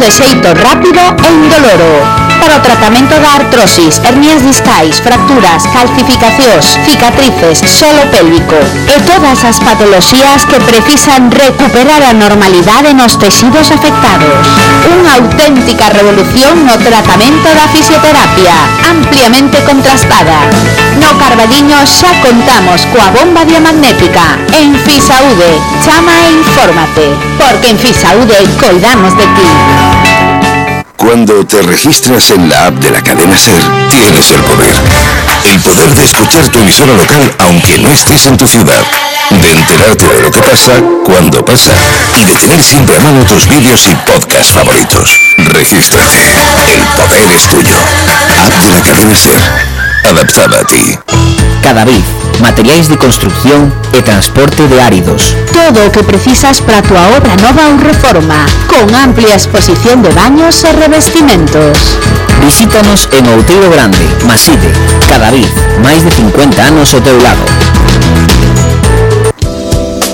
de xeito rápido e indoloro. Para o tratamento da artrosis, hernias discais, fracturas, calcificacións, cicatrices, solo pélvico e todas as patoloxías que precisan recuperar a normalidade nos texidos afectados. Unha auténtica revolución no tratamento da fisioterapia, ampliamente contrastada. No Carballiño xa contamos coa bomba diamagnética. En Fisaude, chama e infórmate, porque en Fisaude coidamos de ti. Cuando te registras en la app de la cadena SER, tienes el poder. El poder de escuchar tu emisora local aunque no estés en tu ciudad. De enterarte de lo que pasa, cuando pasa. Y de tener siempre a mano tus vídeos y podcasts favoritos. Regístrate. El poder es tuyo. App de la cadena SER. Adaptada a ti. Cadavid, materiais de construcción e transporte de áridos. Todo o que precisas para a túa obra nova ou reforma, con amplia exposición de baños e revestimentos. Visítanos en Outeiro Grande, Maside. Cadavid, máis de 50 anos ao teu lado.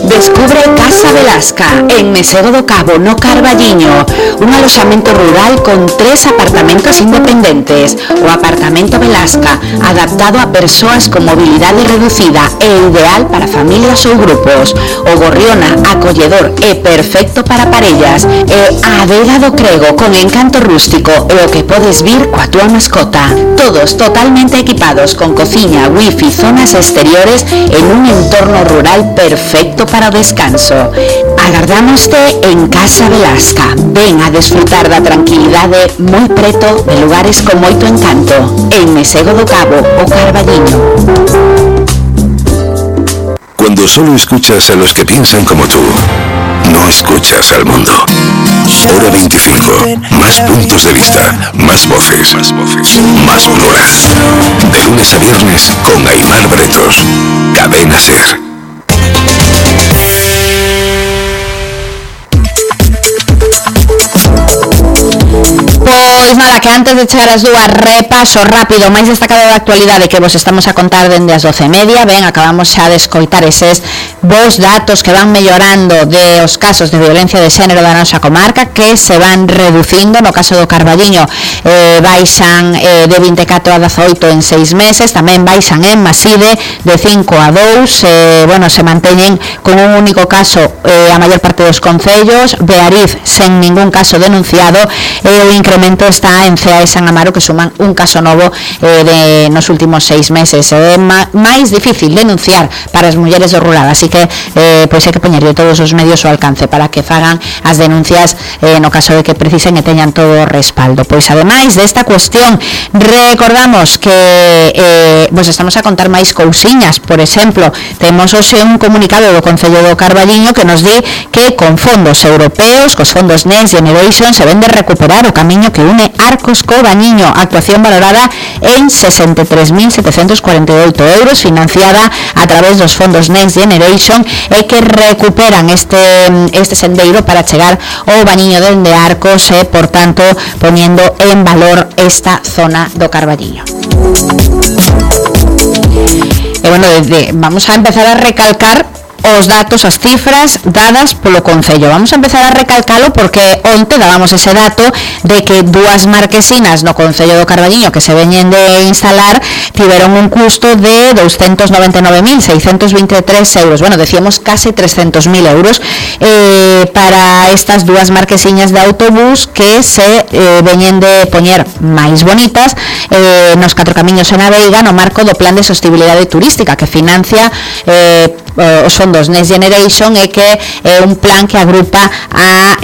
Descubre Casa Velasca, en Mesego do Cabo, no Carballiño, un aloxamento rural con 3 apartamentos independentes. O apartamento Velasca, adaptado a persoas con mobilidade reducida e ideal para familias ou grupos. O Gorriona, acolledor e perfecto para parellas. E a Adega do Crego, con encanto rústico e o que podes vir coa túa mascota. Todos totalmente equipados con cociña, wifi, zonas exteriores en un entorno rural perfecto para o descanso. Agardámoste en Casa Velasca. Ven a desfrutar da tranquilidade moi preto de lugares con moito encanto. En Mesego do Cabo, o Carballiño. Cuando solo escuchas a los que piensan como tú, no escuchas al mundo. Hora 25. Más puntos de vista, más voces, más gloria. De lunes a viernes con Aimar Bretos. Cadena SER. Pois nada, que antes de chegar as dúas, repaso rápido máis destacado da actualidade que vos estamos a contar dende as 12:30. Ben, acabamos xa de escoitar eses vos datos que van mellorando de os casos de violencia de xénero da nosa comarca, que se van reducindo. No caso do Carballiño baixan de 24 a 18 en 6 meses, tamén baixan en Maside de 5 a 2, bueno, se manteñen con un único caso a maior parte dos concellos. Beariz sen ningún caso denunciado, e o incremento está en Cea e San Amaro, que suman un caso novo nos últimos 6 meses. É máis difícil denunciar para as mulleres do rural, así que pois hai que poñerlle todos os medios ao alcance para que fagan as denuncias no caso de que precisen e teñan todo o respaldo. Pois ademais desta cuestión, recordamos que vos estamos a contar máis cousiñas. Por exemplo, temos hoxe un comunicado do Concello do Carballiño que nos di que con fondos europeos, cos fondos Next Generation, se vende recuperar o camiño que une Arcos co Bañiño, actuación valorada en 63.748 euros, financiada a través dos fondos Next Generation, e que recuperan este sendeiro para chegar ao Bañiño dende Arcos, e por tanto poniendo en valor esta zona do Carballiño. E bueno, vamos a empezar a recalcar os datos, as cifras dadas polo Concello. Vamos a empezar a recalcalo porque onte dábamos ese dato de que 2 marquesinas no Concello do Carballiño que se veñen de instalar tiveron un custo de 299.623 euros. Bueno, decíamos case 300.000 euros para estas 2 marquesiñas de autobús que se veñen de poñer máis bonitas nos 4 camiños en a Veiga, no marco do Plan de Sostibilidade Turística que financia os fondos Next Generation, e que é un plan que agrupa a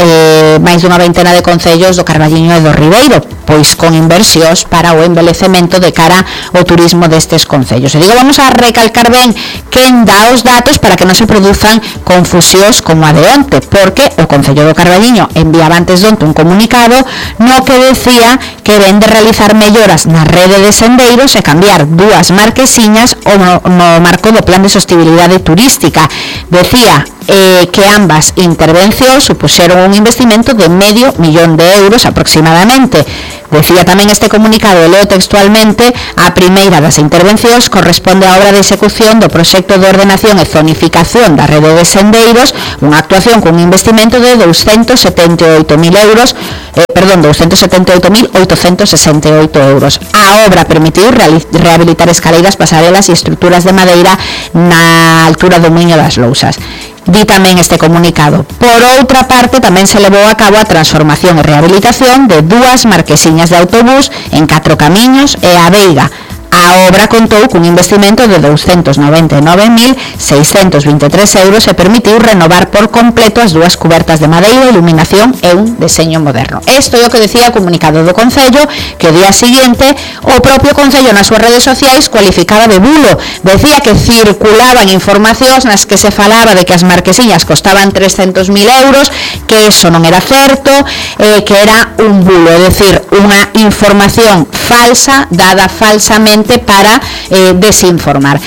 máis dunha veintena de concellos do Carballiño e do Ribeiro, pois con inversións para o embelecemento de cara ao turismo destes concellos. E digo, vamos a recalcar ben quen dá os datos para que non se produzan confusións como a de onte, porque o Concello do Carballiño enviaba antes de onte un comunicado no que decía que ven de realizar melloras na rede de sendeiros e cambiar 2 marquesiñas no marco do Plan de Sostibilidade Turística. Decía que ambas intervencións supuxeron un investimento de $500,000 aproximadamente. Decía tamén este comunicado, e leo textualmente: a primeira das intervencións corresponde á obra de execución do proxecto de ordenación e zonificación da rede de sendeiros, unha actuación con un investimento de €278.000, 278.868 euros. A obra permitiu rehabilitar escaleiras, pasarelas e estruturas de madeira na altura do Muiño das Lousas. Di tamén este comunicado. Por outra parte, tamén se levou a cabo a transformación e rehabilitación de 2 marquesiñas de autobús en 4 camiños e a Veiga. A obra contou cun investimento de 299.623 euros e permitiu renovar por completo as 2 cubertas de madeira, iluminación e un deseño moderno. Isto é o que decía o comunicado do Concello, que o día seguinte o propio Concello nas súas redes sociais cualificaba de bulo. Decía que circulaban informacións nas que se falaba de que as marquesiñas costaban 300.000 euros, que eso non era certo, que era un bulo, é dicir, unha información falsa, dada falsamente para desinformar.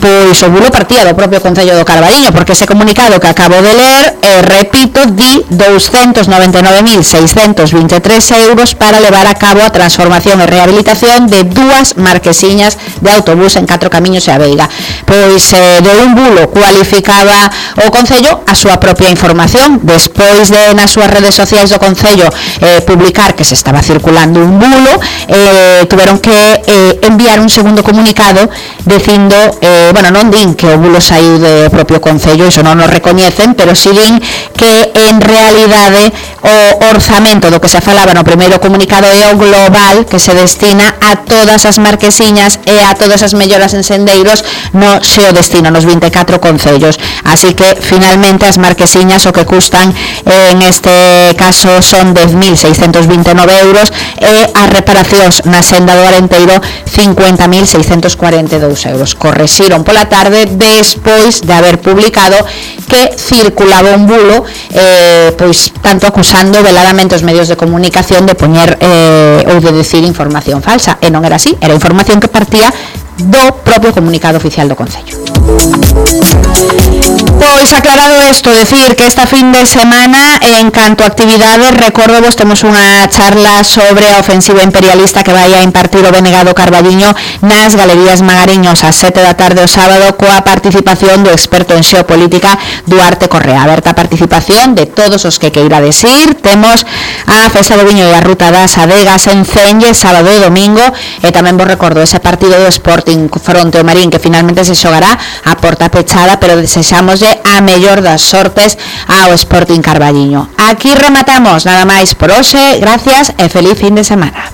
Pois o bulo partía do propio Concello do Carballiño, porque ese comunicado que acabo de ler, repito, di 299.623 euros para levar a cabo a transformación e rehabilitación de 2 marquesiñas de autobús en 4 camiños e a Veiga. Pois de un bulo cualificaba o Concello a súa propia información, despois de nas súas redes sociais do Concello publicar que se estaba circulando un bulo, tuveron que enviar un segundo comunicado dicindo non din que o bulo saiu do propio Concello, iso non nos recoñecen, pero si din que en realidade o orzamento do que se falaba no primeiro comunicado é o global que se destina a todas as marquesiñas e a todas as melloras en sendeiros no seu destino, nos 24 concellos. Así que finalmente as marquesiñas o que custan en este caso son 10.629 euros e as reparacións na senda do Arenteiro 50.642 euros. Correxiron pola tarde despois de haber publicado que circulaba un bulo, pois tanto acusando veladamente os medios de comunicación de poñer ou de decir información falsa, e non era así, era información que partía do propio comunicado oficial do Concello. Pois aclarado isto, decir que esta fin de semana en canto a actividades, recordo vos temos unha charla sobre a ofensiva imperialista que vai a impartir o BNG do Carballiño nas Galerías Magariños a 7 da tarde o sábado, coa participación do experto en xeopolítica Duarte Correa. Aberta a participación de todos os que queirades ir. Temos a Festa do Viño e a Ruta das Adegas en Cenlle sábado e domingo, e tamén vos recordo ese partido do Sporting fronte ao Marín que finalmente se xogará a porta pechada, pero desexámoslle a mellor das sortes ao Sporting Carballiño. Aquí rematamos nada máis por hoxe, gracias e feliz fin de semana.